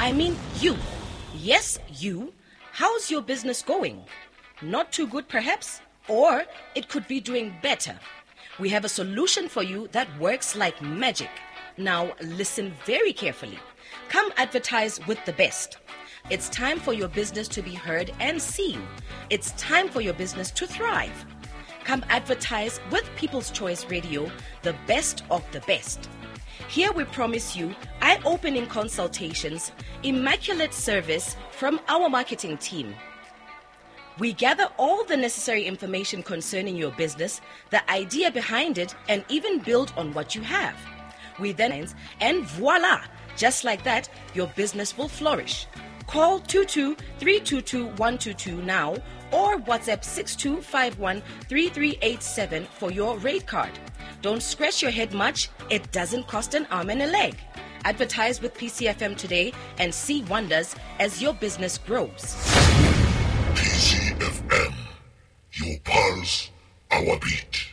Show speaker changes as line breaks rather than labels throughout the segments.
I mean you. Yes, you. How's your business going? Not too good, perhaps? Or it could be doing better. We have a solution for you that works like magic. Now, listen very carefully. Come advertise with the best. It's time for your business to be heard and seen. It's time for your business to thrive. Come advertise with People's Choice Radio, the best of the best. Here we promise you eye opening consultations, immaculate service from our marketing team. We gather all the necessary information concerning your business, the idea behind it, and even build on what you have. We then, and voila, just like that, your business will flourish. Call 22 322 122 now or WhatsApp 6251 3387 for your rate card. Don't scratch your head much, it doesn't cost an arm and a leg. Advertise with PCFM today and see wonders as your business grows.
PCFM, your pulse, our beat.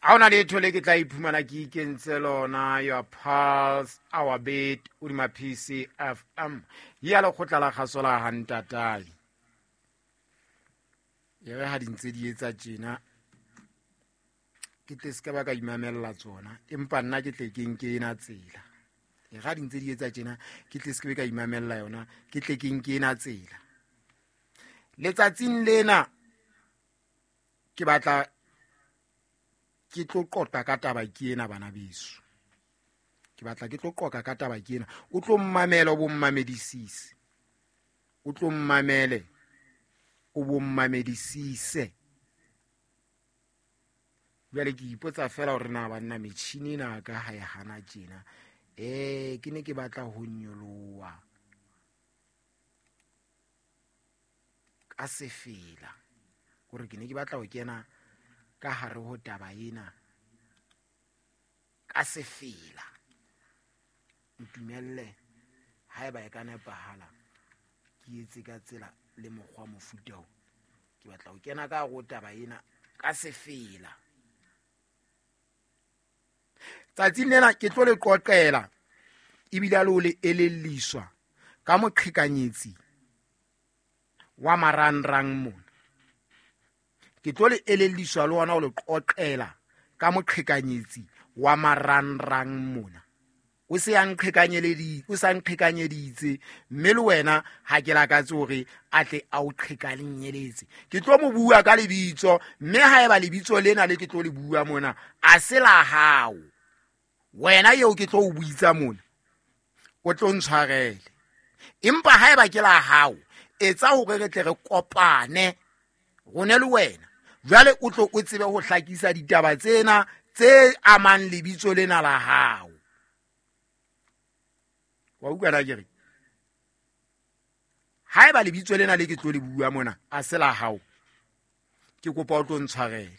Ha ona letho le ke tla iphumana ke ikentse lona. Your pulse, our beat, hodima PCFM ya lekgotla la kgaso la hantatae. E re ha di ntse di etsa tjena, ke tle se ka ba ka imamella tsona, empa nna ke tle ke nke ena tsela. E ga di ntse di etsa tjena, ke tle se ke be ka imamella yona, ke tle ke nke ena tsela. Letsatsing lena ke batla ke tlo qoqa ka taba ke ena, bana beso. Ke batla ke tlo qoqa ka taba ke ena. O tlo mmamela, o bo mmamedisise. O tlo mmamele, o bo mmamedisise. Jwale ke ipotsa fela hore na banna metjhini ena ka ha e hana tjena. Ke ne ke batla ho nyoloha ka sefela, hore ke ne ke batla ho kena ka hare ho taba ena ka sefela. Ntumelle haeba e ka nepahala ke etse ka tsela le mokgwa mofuta o. Ke batla ho kena ka hare ho taba ena ka sefela. Tsatsing lena ke tlo le qoqela ebile le o le elelliswa ka moqhekanyetsi wa marangrang mona. Ke tlo le elelliswa le ona o le qoqela ka moqhekanyetsi wa marangrang mona. O se a nqhekanyeledi, o sa nqhekanyeditse, mme le wena ha ke lakatse hore a tle a o qhekanyeletse. Ke tlo mo bua ka lebitso, mme haeba lebitso lena le ke tlo le bua mona a se la hao, wena eo ke tlo o buitsa mona, o tlo ntshwarele. Empa haeba ke la hao, etsa hore re tle re kopane rone le wena. Jwale o tlo o tsebe ho hlakisa ditaba tsena tse amang lebitso lena la hao. Wa utlwa na ke re? Haeba lebitso lena le ke tlo le bua mona a se la hao, ke kopa o tlo ntshwarele.